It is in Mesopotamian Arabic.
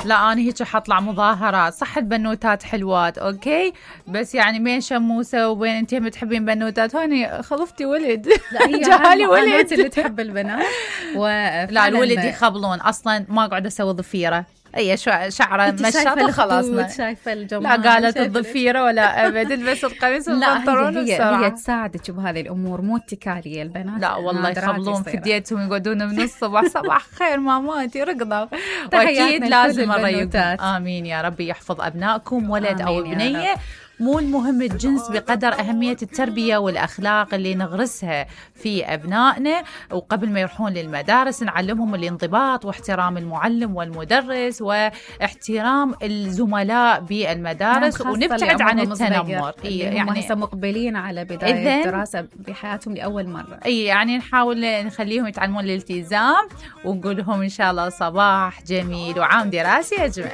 لا أنا هيك حطلع مظاهرات. صح البنوتات حلوات أوكي، بس يعني بين شموسة وبين أنتي بتحبين بنوتات، هوني خلفتي ولد. لا هي جالي ولد اللي تحب البنات. لا الولد يخبلون أصلا، ما أقعد أسوي ضفيرة. اي شعره مشط وخلصنا. شايفه الجمال. لا قالت الضفيره ولا ابد، البس القميص والبنطلون. هي تساعدك بهذه الامور، مو اتكاليه البنات. لا والله يخبلون في ديتهم، يقعدون من الصبح صباح خير ماماتي رقضه. واكيد لازم الريق. امين يا ربي يحفظ ابنائكم ولد او بنيه. مو المهم الجنس بقدر أهمية التربية والأخلاق اللي نغرسها في أبنائنا، وقبل ما يروحون للمدارس نعلمهم الانضباط واحترام المعلم والمدرس واحترام الزملاء بالمدارس، ونبتعد عن التنمر. يعني هسه مقبلين على بداية الدراسة بحياتهم لأول مرة. يعني نحاول نخليهم يتعلمون الالتزام، ونقول لهم إن شاء الله صباح جميل وعام دراسي أجمل.